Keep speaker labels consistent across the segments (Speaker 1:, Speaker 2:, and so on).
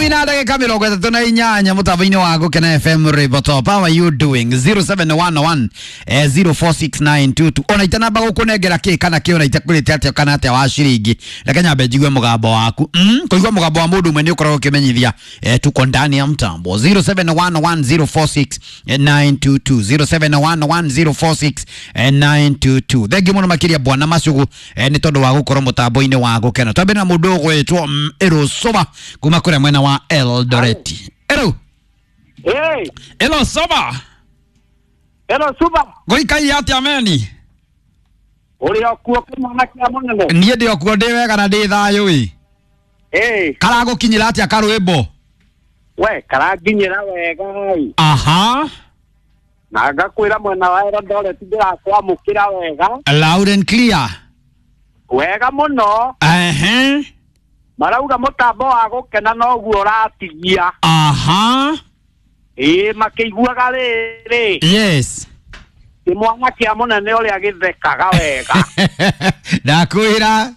Speaker 1: Ikumi na ndagĩka 38 mũtambo-inĩ wa Gũkena FM Ribotop. How are you doing? 0711 046922. Ona itanamba gũkũnengera kĩ kana kĩ, ona itakwĩrĩte atĩa kana atĩa wa ciringi, reke nyambe njigue mũgambo waku. Kũigua mũgambo wa mũndũ ũmwe nĩ ũkoragwo ũkĩmenyithia tuko ndani ya mtambo. 0711046922, 0711046922. Thengiũ mũno makĩria bwana Macugu nĩ tondũ wa gũkorwo mũtambo-inĩ wa Gũkena. Twambe na mũndũ ũgwĩtwo Erosoba kuma kũrĩa mwena wa Eldoret. Ero.
Speaker 2: Hey,
Speaker 1: Erosoba.
Speaker 2: hello Suba.
Speaker 1: Gũikaire atĩa meni?
Speaker 2: Ũrĩ o kuo kĩmwana kĩa mũnene?
Speaker 1: Niĩ ndĩ o kuo, ndĩ wega na ndĩ thayũ ĩ.
Speaker 2: Hey,
Speaker 1: Karagũkinyĩra atĩa karwĩmbo?
Speaker 2: we karanginyĩra wega ĩ.
Speaker 1: Aha.
Speaker 2: Na ngakwĩra mwena wa Eldoret ndĩrakwamũkĩra wega.
Speaker 1: Loud and clear.
Speaker 2: Wega mũno.
Speaker 1: Ehe.
Speaker 2: Marauga mũtambo wa Gũkena noguo ũratigia.
Speaker 1: Aha.
Speaker 2: Ĩĩ, makĩiguaga rĩrĩ.
Speaker 1: Yes.
Speaker 2: Kĩmwana kĩa mũnene ũrĩa gĩthekaga wega.
Speaker 1: Ndakwĩra.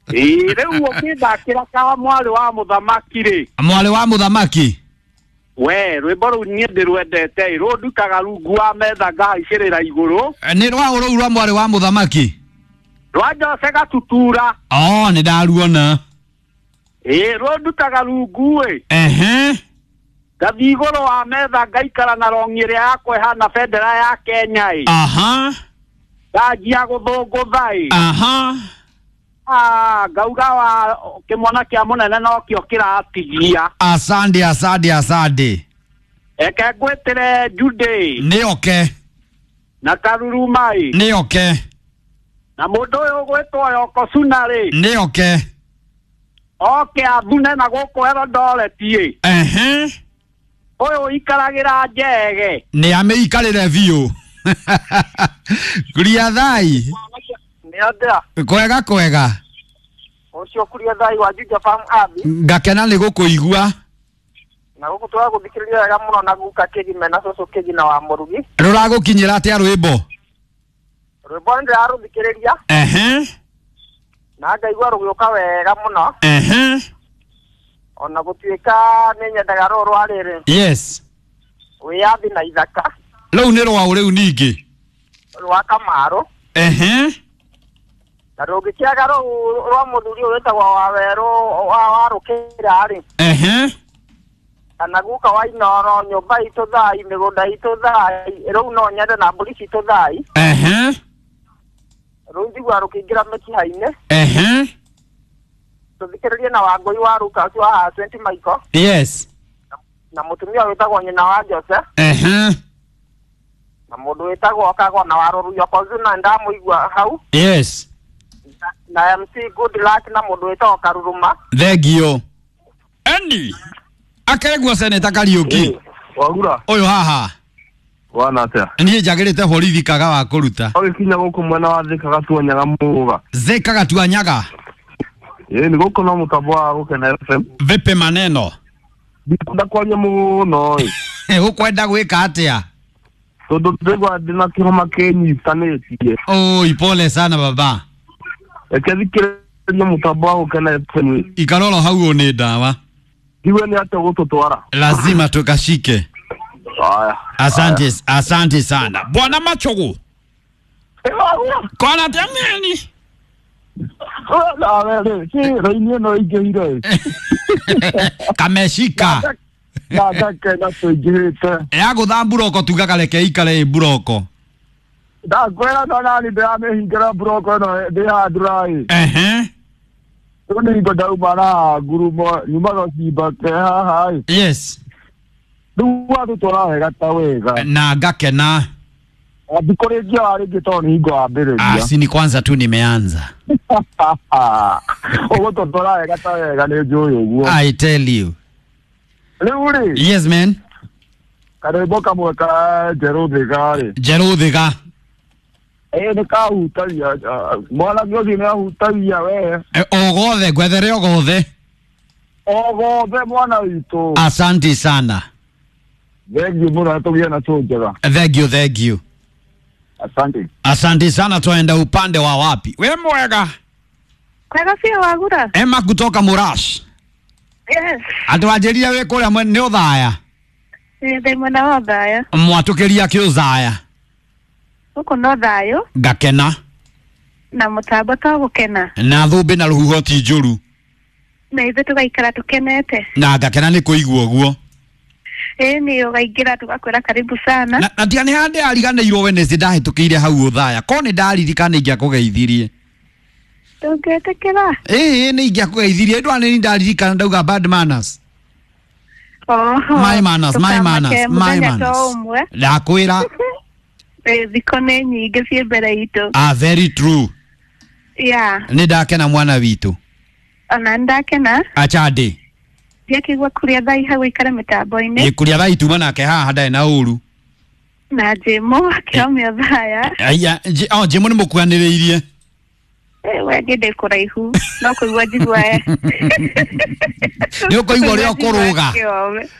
Speaker 2: Ĩĩ, rĩu ũkĩthakĩra ka mwarĩ wa mũthamaki rĩ.
Speaker 1: Mwarĩ wa mũthamaki.
Speaker 2: We, rwĩmbo rũu niĩ ndĩrwendete ĩ, rũndukaga rungu wa metha ngahaicĩrĩra igũrũ.
Speaker 1: Nĩ rwa rũu rwa mwarĩ wa mũthamaki.
Speaker 2: Rwa Jose Gatutura.
Speaker 1: Oh, nĩ ndaruona.
Speaker 2: Ĩĩ, rũndutaga rungu ĩ.
Speaker 1: Ehe.
Speaker 2: Ngathiĩ igũrũ wa metha ngaikara na rongi ĩrĩa yakwa ĩhana bendera ya Kenya ĩ.
Speaker 1: Aha.
Speaker 2: Nganjia gũthũngũtha ĩ.
Speaker 1: Aha.
Speaker 2: Ah, ngauga wa kĩmwana kĩa mũnene nokĩo kĩratigia.
Speaker 1: Asante, asante, asante.
Speaker 2: Eke ngwĩtĩre Jude
Speaker 1: Nĩ oke.
Speaker 2: na Karuruma ĩ.
Speaker 1: Nĩ oke.
Speaker 2: Na mũndũ ũyũ ũgwĩtwo Yoko Suna rĩ.
Speaker 1: Nĩ oke.
Speaker 2: Oke athune na gũkũ Eldoret ĩ.
Speaker 1: Ehe.
Speaker 2: Ũyũ ũikaragĩra njege.
Speaker 1: Nĩ amĩikarĩre biũ. Kuria thai.
Speaker 3: Nĩ atĩa?
Speaker 1: Kwega kwega.
Speaker 3: Ũcio kuria thai wa Juja Farm Abi.
Speaker 1: Ngakena nĩ gũkũigua.
Speaker 3: Na gũkũ tũragũthikĩrĩria wega mũno na guka Kĩgime na cũcũ Kĩgina wa Mũrugi.
Speaker 1: Rũragũkinyĩra atĩa rwĩmbo?
Speaker 3: Rwĩmbo nĩ ndĩrarũthikĩrĩria
Speaker 1: Ehe.
Speaker 3: na ngaigua rũgĩũka wega mũno.
Speaker 1: Ehe.
Speaker 3: Ona gũtuĩka nĩ nyendaga rũũ rwa rĩrĩ.
Speaker 1: Yes.
Speaker 3: Wĩyathi na ithaka.
Speaker 1: Rũu nĩ rwaũ rĩu ningĩ?
Speaker 3: Rwa Kamaru.
Speaker 1: Ehe.
Speaker 3: Na rũngĩkĩaga rũu rwa mũthuri ũyũ wĩtagwo Wawerũ wa Rũkĩra rĩ.
Speaker 1: Ehe.
Speaker 3: Kana guka wa Inoro, nyũmba itũ thai, mĩgũnda itũ thai, rũu no nyende na mbũri citũ thai.
Speaker 1: Ehe.
Speaker 3: Rũu njiguaga rũkĩingĩra mĩkiha-inĩ.
Speaker 1: Ehe.
Speaker 3: Tũthikĩrĩrie na Wangũi wa Ruka ũcio wa 20 Michael.
Speaker 1: Yes.
Speaker 3: Na mũtumia wĩtagwo nyina wa Jose.
Speaker 1: Ehe.
Speaker 3: Na mũndũ wĩtagwo Kagwa na wa Rũruyo Kozuna ndamũigua hau.
Speaker 1: Yes.
Speaker 3: Na MC Good Luck na mũndũ wĩtagwo Karuruma.
Speaker 1: Thengiũ. Andy. Akeregwo Seneta Kariũki.
Speaker 4: Wagura.
Speaker 1: Ũyũ haha.
Speaker 4: Wana atĩa?
Speaker 1: Niĩ njagĩrĩte borithi kaga wa kũruta.
Speaker 4: Ũgĩkinya gũkũ mwena wa Thika Gatuanyaga Mũga.
Speaker 1: Thika Gatuanyaga.
Speaker 4: Ĩĩ, nĩ gũkũ no mũtambo wa Gũkena FM.
Speaker 1: Vipi maneno?
Speaker 4: Ndikwenda kwaria mũno ĩ.
Speaker 1: Ũkwenda gwĩka atĩa?
Speaker 4: Tondũ ndĩraigua ndĩna kĩhoma kĩnyitanĩtie.
Speaker 1: Oi, pole sana baba.
Speaker 4: Reke thikĩrĩrie mũtambo wa Gũkena FM.
Speaker 1: Ikaroro hau nĩ ndawa.
Speaker 4: Ndiwe nĩ atĩa ũgũtũtwara.
Speaker 1: Lazima tukashike.
Speaker 4: Haya.
Speaker 1: Asante, asante sana. Bwana Machogu. Kwana atĩa meni?
Speaker 4: Nawe rĩ, kĩ raini ĩno ĩingĩhire ĩ.
Speaker 1: Kameshika.
Speaker 4: Na ngakena tũingĩhĩte.
Speaker 1: Ya gũtha mburoko tugaga reke ikare ĩ mburoko.
Speaker 4: Ndakwĩra no nani ndĩramĩhingĩra mburoko ĩno ndĩ handũ ĩ.
Speaker 1: Ehe.
Speaker 4: Rĩu nĩ hingo ndauma na ngurumo nyumaga cimba ke haha ĩ.
Speaker 1: Yes.
Speaker 4: Rĩu watũtwara wega ta wega.
Speaker 1: Na ngakena.
Speaker 4: Thikũ rĩngĩ wa rĩngĩ tondũ nĩ hingo wambĩrĩria.
Speaker 1: Ah, si ni kwanza tu nimeanza.
Speaker 4: Ũgũtũtwara wega ta wega nĩ njũĩ ũguo.
Speaker 1: I tell you.
Speaker 4: Rĩu rĩ.
Speaker 1: Yes man.
Speaker 4: Karwĩmbo kamwe ka Njerũ Thĩga rĩ.
Speaker 1: Njerũ Thĩga.
Speaker 4: Ĩĩ nĩ kahutagia mwanake ũcio nĩ ahutagia we.
Speaker 1: O gothe ngwethere o gothe.
Speaker 4: O gothe mwana witũ.
Speaker 1: Asante sana.
Speaker 4: Thengiũ mũno tũgĩe na show njega.
Speaker 1: Thank you, thank you.
Speaker 4: Asante.
Speaker 1: Asante sana. Twaenda upande wa wapi? We mwega.
Speaker 5: Kwega biũ Wagura.
Speaker 1: Emma kutoka Murash.
Speaker 5: Yes.
Speaker 1: Atĩ wanjĩrire wĩ kũrĩa nĩ ũthaya.
Speaker 5: Ndĩ mwena wa Othaya.
Speaker 1: Mwatũkĩria kĩũthaya.
Speaker 5: Gũkũ no thayũ
Speaker 1: Ngakena.
Speaker 5: Na mũtambo to gũkena.
Speaker 1: Na thũmbĩ na rũhuho ti njũru.
Speaker 5: Na ithuĩ tũgaikara tũkenete.
Speaker 1: Na ngakena nĩ kũigua ũguo.
Speaker 5: Ĩĩ nĩ ũgaingĩra tũgakwĩra karibu sana.
Speaker 1: Na tiga nĩ handĩ ariganĩirwo Wednesday ndahĩtũkĩire hau ũthaya. Korwo nĩ ndaririkana ingĩakũgeithirie.
Speaker 5: Ndũngĩtĩkĩra.
Speaker 1: Ĩĩ nĩ ingĩakũgeithirie ndwa nĩ ndaririkana ndauga bad manners.
Speaker 5: Oho.
Speaker 1: My manners, my manners,
Speaker 5: Tũkamake
Speaker 1: my
Speaker 5: mũthenya
Speaker 1: manners.
Speaker 5: to ũmwe.
Speaker 1: Ndakwĩra.
Speaker 5: Ĩĩ, thikũ nĩ nyingĩ ciĩ mbere itũ.
Speaker 1: Ah, very true.
Speaker 5: Yeah.
Speaker 1: Nĩ ndakena mwana witũ.
Speaker 5: Ona nĩ ndakena.
Speaker 1: Achande.
Speaker 5: Ndiakĩigua kũrĩa thai hau ikare mĩtambo-inĩ.
Speaker 1: Kũrĩa thaa ituma nake haha ndarĩ na ũru.
Speaker 5: Na Jĩmũ akĩomia Othaya.
Speaker 1: Aya, oh, Jĩmũ nĩ mũkuanĩrĩirie.
Speaker 5: Ĩĩ, we niĩ ndĩ kũraihu. No kũigua njigua.
Speaker 1: Nĩ ũkũigua ũrĩa ũkũrũga.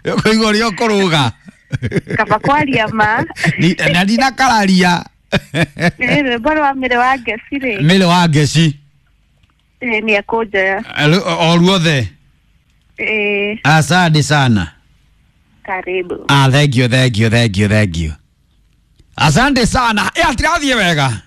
Speaker 1: Nĩ ũkũigua ũrĩa ũkũrũga.
Speaker 5: Kaba kwaria ma.
Speaker 1: Na ndinakararia.
Speaker 5: Ĩĩ, rwĩmbo rwa Mĩrĩ wa Ngeci rĩ.
Speaker 1: Mĩrĩ wa ngeci.
Speaker 5: Ĩĩ, nĩ ekũnjoya.
Speaker 1: O ruothe.
Speaker 5: Ĩĩ,
Speaker 1: Asante sana.
Speaker 5: karibu.
Speaker 1: Ah, thank you, thank you, thank you, thank you. Asante sana. Ĩ, atirathiĩ wega.